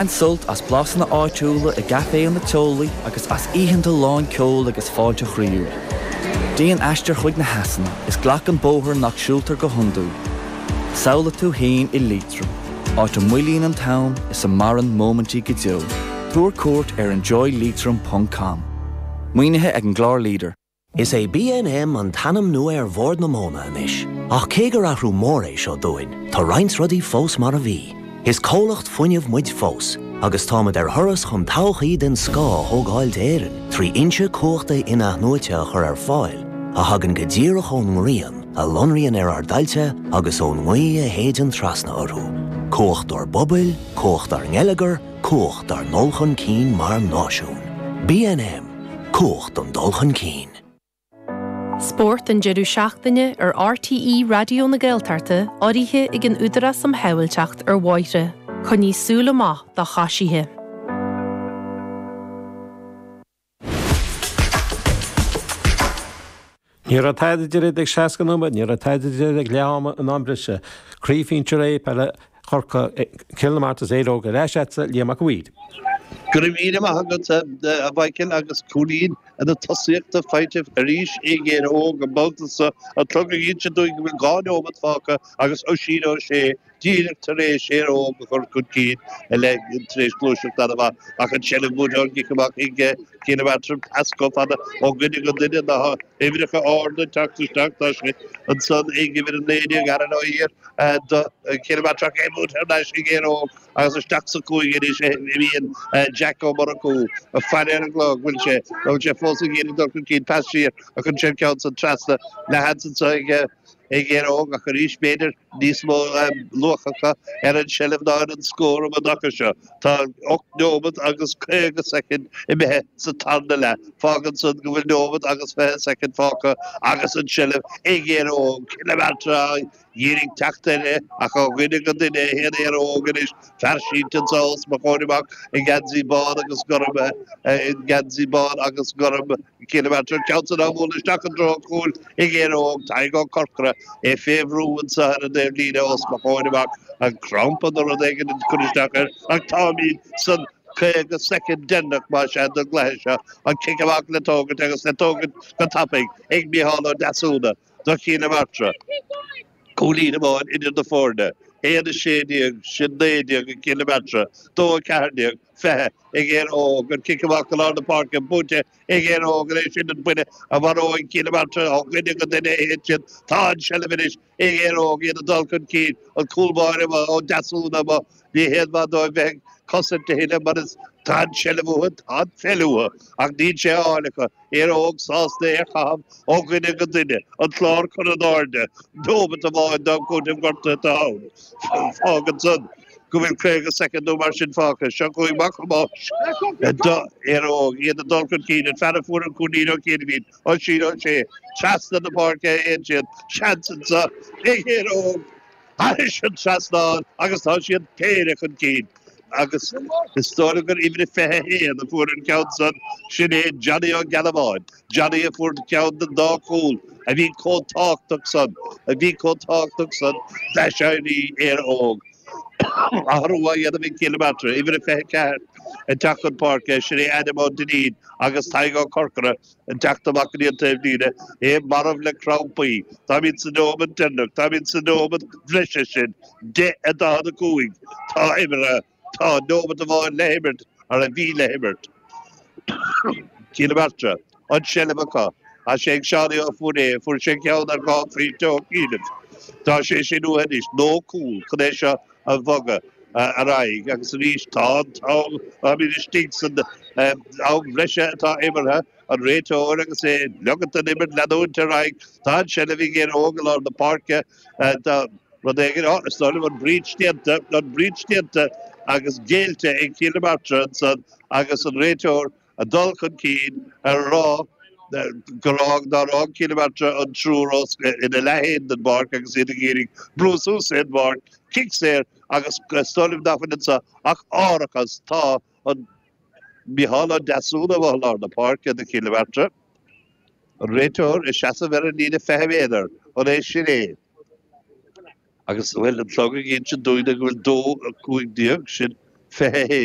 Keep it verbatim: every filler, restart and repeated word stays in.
Bain sult as blasanna áitiúla i gcaiféanna teolaí agus as oícheanta lán ceoil agus fáilte chroíúil. Déan aistear chuig na heasanna is glac an bóthar nach siúltar go hiondúil. Samhlaigh tú féin i Liatroim, áit a moillíonn an t-am is a maireann móimintí go deo. Tabhair cuairt ar enjoy leitrim ponc com. Maoinithe ag an gclár Leader. Is é B N M an t-ainm nua ar Bhord na Móna anois, ach cé gur athrú mór é seo dúinn, tá roinnt rudaí fós mar a bhí. Is comhlacht fuinnimh muid fós, agus táimid ar thuras chun todhchaí den scoth a thógáil d'Éirinn, trí fhoinse cumhachta in-athnuaite a chur ar fáil, a thagann go díreach ón ngrian, a lonraíonn ar ár dtailte agus ón ngaoth a shéideann trasna orthu. Cumhacht ár bpobail, cumhacht ár ngeilleagar, cumhacht ár ndul chun cinn mar náisiún. B N M, cumhacht an dul chun cinn. Spórt an deireadh seachtaine ar R T E Raidió na Gaeltachta urraithe ag an Údarás um Shábháilteacht ar Bhóithre. Coinnigh súil amach do choisithe. Ní raibh tada idir ag seasca nóiméad, ní raibh tada idir ag leath ama an am breise. Craobh Shinsir A peile Chorcaí, Cill na Martra is Éire Óg ar ais agatsa, Liam Mac Uidhir. Go raibh míle maith agat, a Mhichael, agus cúilín na tosaíochta faighte arís ag Éire Óg an babhta seo. An clog ag inse dúinn go bhfuil dhá nóiméad fágtha agus Oisín Ó Sé díreach tar éis Éire Óg a chur chun cinn le tar éis gluaiseacht an-mhaith ach an seilbh buaite ón gcic amach ag Cill na Martra, pas chomh fada ó dhuine go duine, na huimhreacha arda teacht isteach. Tá sé ansan ag uimhir a naoi déag, Aaron Ó hÍr, do Chill na Martra ach é buaite thar n-ais ag Éire Óg agus isteach sa chúig anois a bhíonn Jack Ó Murchú ag faire ar an gclog. Bhfuil sé bhfuil sé fós ag iarraidh dul chun cinn? Pas siar a chun sin ceann san trasna le Hansen so ag ag Éire Óg ach arís b'fhéidir níos mó luach acu ar an seilbh ná ar an scór um an dtaca seo. Tá ocht nóiméad agus caoga soicind imithe sa tarna leath. Fágann san go bhfuil nóiméad agus fiche soicind fágtha agus an seilbh ag Éire Óg. Cill na Martra iarraidh teacht air ach ó dhuine go duine a théann Éire Óg anois. Fear sínte anseo os mo chomhair amach i ngeansaí bán agus gorm, i ngeansaí bán agus gorm Cill na Martra. Ceann san á bhualadh isteach i dtreo an chúil ag Éire Óg. Tadhg Ó Corcora é fé bhrú anseo ar an dtaobh líne os mo chomhair amach. An crampa nó rud éigin ag cur isteach air ach táimid san caoga soicind deireanach más ea den gcluiche seo. An cic amach le tógaint agus le tógaint go tapaidh ag Micheál Ó Deasúna do Chill na Martra. Cúilín amháin idir na foirne. Aon a sé déag, sin naoi déag ag Cill na Martra, dó a ceathair déag, fiche ag Éire Óg. An cic amach go lár na páirce buaite ag Éire Óg anois. Sin an buille a mharóidh Cill na Martra. Ó dhuine go duine a théann siad. Tá an seilbh anois ag Éire Óg, iad ag dul chun cinn. An cúl báire Ó Deasúna amuigh. Ní haon mhaith dóibh bheith ag cosaint a thuilleadh mar is tá an seilbh uathu, tá an pheil uathu ach níl sé á fháil acu. Éire Óg sásta é a chaitheamh ó dhuine go duine, an clár curtha in airde, nóiméad amháin d'am cúitimh gortaithe atá ann. Fágann san go bhfuil caoga soicind nó mar sin fágtha. Seo chugainn Mac Thomáis do Éire Óg, iad ag dul chun cinn. An fear a fuair an cúilín ó chianaibh, Oisín Ó Sé, trasna na páirce a théann siad. Seans anseo ag Éire Óg thairis an trasnán agus tá siad péire chun cinn agus is dóigh liom gur uimhir a fiche a haon a fuair an ceann san, sin é Johnny Ó Gealbháin, Johnny a fuair ceann den dá chúl a bhí chomh tábhachtach san, a bhí chomh tábhachtach san d'aiséirí Éire Óg. Athrú á dhéanamh ag Cill na Martra, uimhir a fiche a ceathair ag teacht chun páirce, sin é Adam Ó Duinnín agus Tadhg Ó Corcora ag teacht amach go dtí an taobh líne, é marbh le crampaí. Táimid sa nóiméad deireanach, táimid sa nóiméad bhreise sin, deich a daichead a cúig. Tá imeartha, tá nóiméad amháin le himirt, ar a bhí le himirt. Cill na Martra, an seilbh acu. Tá sé ag Seánie Ó Fúiré, fuair sé ceann ar dhá phointe ó chianaibh. Tá sé sin uathu anois, nó cúl, chun é seo a bhogadh ar aghaidh agus arís tá an t-am, táimid istigh san am bhreise atá imeartha, an réiteoir agus é ag ligint don imirt leanúint ar aghaidh. Tá an seilbh ag Éire Óg i lár na páirce. Tá rud éigin, á, is dóigh liom an breach déanta, an breach déanta agus géillte ag Cill na Martra ansan agus an réiteoir ag dul chun cinn ar rá gur fhág nár fhág Cill na Martra an triúr os ina leath féin den bpáirc agus iad ag iarraidh brú suas ar an bpáirc, cic saor agus is dóigh liom nach bhfuil anseo ach árachas. Tá an Micheál Ó Deasúna amuigh i lár na páirce do Chill na Martra. An réiteoir ag seasamh ar an líne fiche méadar. An é sin é? Agus bhuel, an clog ag insint dúinn go bhfuil dó a cúig déag, sin fiche haon.